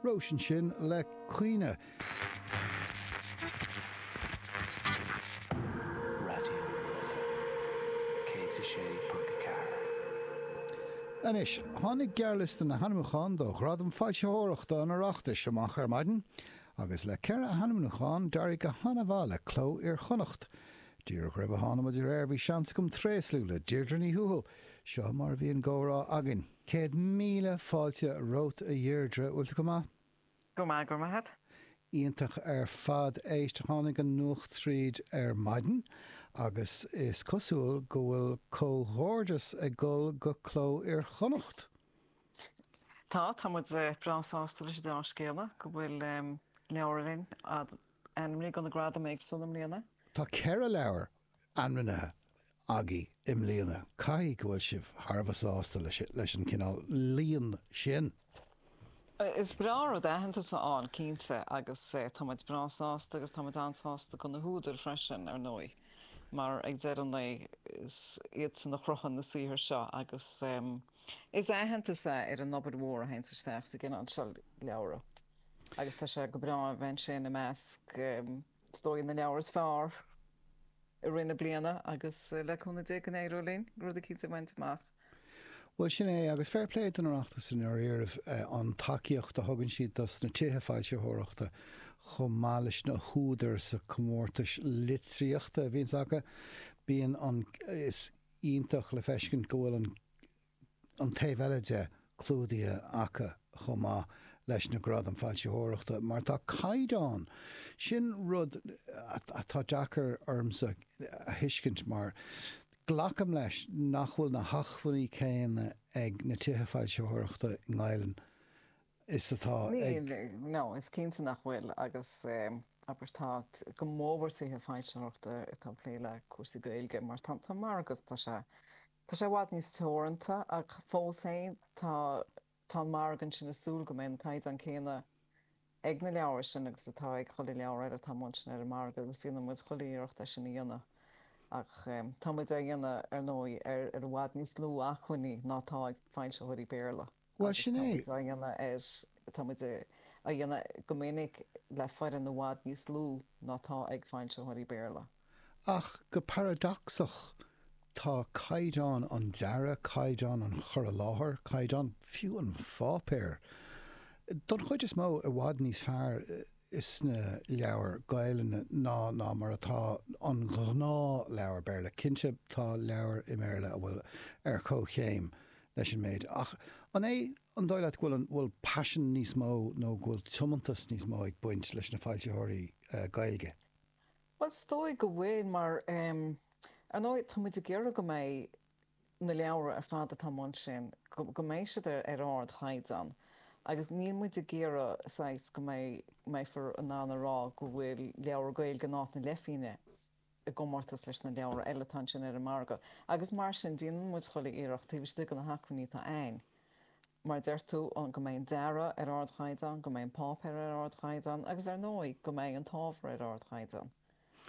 Róis ansin le Caoineadh. Raidió na Life 106.4. Anois, tháinig gearrliosta na hainmniúchán do Ghradam Foilsitheoireachta an Oireachtais amach ar maidin, agus le 4 hainmniúchán, d'éirigh go han-mhaith le Cló Iar-Chonnacht. Díreach roimh a tháinig muid ar aer bhí seans agam tréaslú le Deirdre Ní Thuathail. Seo mar a bhí an gcomhrá againn. 100,000 fáilte romhat a Dheirdre, bhfuil tú go maith? Go maith, go raibh maith agat. Iontach ar fad. Éist, tháinig an nuacht tríd ar maidin agus is cosúil go bhfuil comhghairdeas ag dul go Cló Iar-Chonnacht. Tá, tá muid breá sásta leis an dea-scéala go bhfuil leabhar againn ainmnithe do na gradaim éagsúla i mbliana. Tá 4 leabhar ainmnithe agaibh i mbliana. Caithfidh go bhfuil sibh thar a bheith sásta leis an cineál líon sin. Is breá an rud aitheantas a fháil, cinnte, agus tá muid breá sásta agus tá muid an-sásta do na húdair freisin, ar ndóigh, mar ag deireadh an lae is iadsan a chruthaigh na saothair seo agus is aitheantas é ar an obair mhór a théanns isteach sa gcineál seo leabhra agus tá sé go breá a bheith ansin i measc, is dóigh, na leabhar is fearr i rith na bliana agus le cúnamh Dé go n-éireoidh linn rud eicínt a bhaint amach. Bhuel, sin é, agus fair play don Oireachtas i ndáiríribh, an tacaíocht a thugann siad dos na tithe foilsitheoireachta chomh maith leis na húdair sa comórtais litríochta a bhíonns acu. Bíonn an, is iontach le feiscint go bhfuil an an taobh eile de clúdaithe acu chomh maith leis na gradaim foilsitheoireachta mar tá caighdeán, sin rud atá deacair ormsa a thuiscint mar glacaim leis nach bhfuil na hacmhainní céanna ag na tithe foilsitheoireachta i nGaelainn is atá ag. Níl, no, is cinnte nach bhfuil agus abair tá go mórmhór tithe foilsitheoireachta atá ag plé le cúrsaí Gaeilge mar tá an margadh, tá sé Tá sé i bhfad níos teoranta ach fós féin tá tá an margadh ansin ag súil go mbeidh an caighdeán céanna ag na leabhair sin agus atá ag chuile leabhar eile atá amuigh ansin ar an margadh agus déanann muid chuile iarracht é sin a dhéanamh ach tá muid á dhéanamh ar ndóigh ar ar i bhfad níos lú acmhainní ná atá ag foilsitheoirí Béarla Bhuel, agus sin tá é. muid á dhéanamh ar tá muid á dhéanamh go minic le foireann i bhfad níos lú ná atá ag foilsitheoirí Béarla. Ach go paradacsach, tá caighdeán an dearaidh, caighdeán an chur i láthair, caighdeán fiú an pháipéir, don chuid is mó i bhfad níos fearr sna leabhair Gaelainne ná ná mar atá an gnáthleabhar Béarla. Cinnte tá leabhair i mBéarla a bhfuil ar comhchéim leis an méid ach an é an dóigh leat go bhfuil an bhfuil paisean níos mó nó go bhfuil tiomantas níos mó ag baint leis na foilsitheoirí Gaeilge? Bhuel, is dóigh go bhfuil, mar, ar ndóigh, tá muid ag iarraidh go mbeidh na leabhra ar fad atá amuigh ansin, go mbeidh siad ar ardchaighdeán agus níl muid ag iarraidh, saghas, go mbeidh, mbeifear in ann a rá go bhfuil leabhar Gaeilge in áit na leithphingne i gcomórtas leis na leabhra eile atá ansin ar an margadh. Agus mar sin, déanann muid chuile iarracht, taobh istigh de na hacmhainní atá a'ainn, Mar a deir tú, go mbeidh an dearadh ar ardchaighdeán, go mbeidh an páipéar ar ardchaighdeán agus ar ndóigh go mbeidh an t-ábhar ar ardchaighdeán.